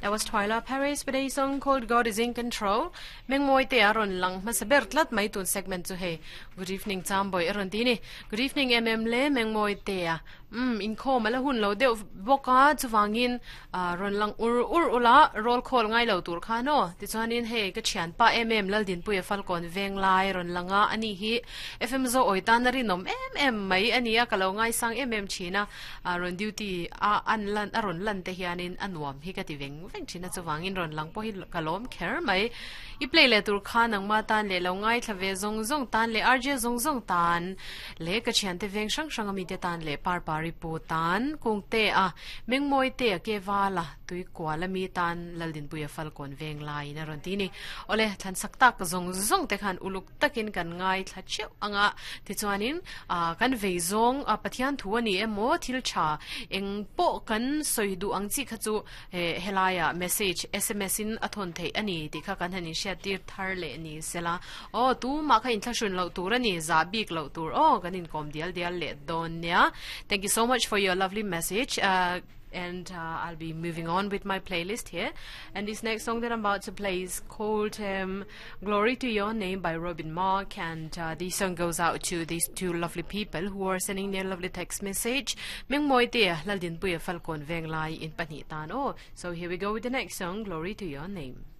That was Twyla Paris with a song called God is in Control. Mengmoi te a rawn lang hmasa ber tlat mai tun segment chu hei. Good evening Chamboy a rawn ti ni. Good evening MM le Mengmoi te a. Um inkhawm ala hun lo deuh bawk a chuvangin ah rawn lang ur ur ula roll call ngai lo tur khan aw. Tichuanin hei ka thianpa em em Laldinpuia Falkawn Venglai rawn lang a ani hi FM Zo awi tan a rinawm em em mai a ni a ka lo ngaisang em em thin a. A rawn duty a an lan a rawn lan te hianin a nuam hi ka ti veng veng thin a chuvangin rawn lang pawh hi ka lawm kher mai. I play leh tur kha nangma tan leh lo ngaithla ve zawng zawng tan leh RJ zawng zawng tan leh ka thiante veng hrang hrang a mite tan leh Parpari pu tan Kungte a Mengmawi te a ke val a tui kual a mi tan Laldinpuia Falkawn veng laiin a rawn ti ni. Awle thlan sak tak zawng zawng te khan uluk takin kan ngaithla theuh ang a, tichuanin ah kan vei zawng a Pathian thu a ni emaw thil tha eng pawh kan sawi duh ang chi kha chu eh helaiah message sms in a thawn theih a ni tih kha kan han inhriat tir thar leh ni sela aw tumah kha inthlahrun loh tur a ni zah bik loh tur aw kan inkawm dial dial leh dawn nia thank you so much for your lovely message ah And uh, I'll be moving on with my playlist here. And this next song that I'm about to play is called um, Glory to Your Name by Robin Mark. And uh, this song goes out to these two lovely people who are sending their lovely text message. Meng moi te laldin puya falcon veng lai in pahnih tan o. So here we go with the next song, Glory to Your Name.